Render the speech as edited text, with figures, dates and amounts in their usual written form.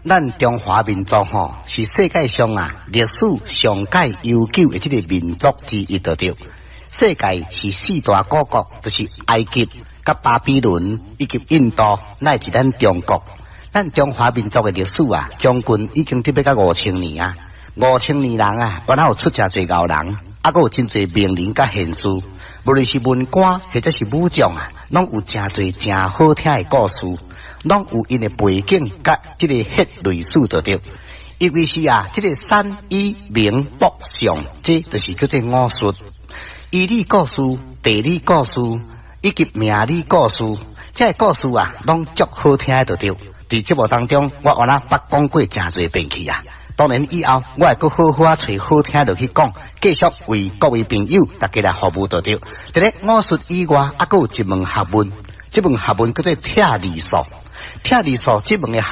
咱中華民族吼是世界上啊歷史上蓋悠久的這个民族之一，對著。世界是四大古國，就是埃及、佮巴比倫以及印度，乃至咱中國。咱中華民族的歷史啊，將近已經得欲到5000年啊！5000年人啊，原來有出誠濟𠢕人，啊，閣有真濟名人佮賢士，無論是文官或者是武將啊，攏有誠濟誠好聽的故事，攏有𪜶的背景佮這個血淚史就對。尤其是啊，這个山醫明卜相，這就是叫做巫術、醫理故事、地理故事以及命理故事，這个故事啊，攏足好聽的就對。佇節目當中，我原來捌講過誠濟遍去啊。當然以後我會閣好好啊揣好聽落去講，繼續為各位朋友大家來服務就對。佇咧巫術以外，啊，閣有一門學問，這門學問叫做拆字術。拆字術這門的學。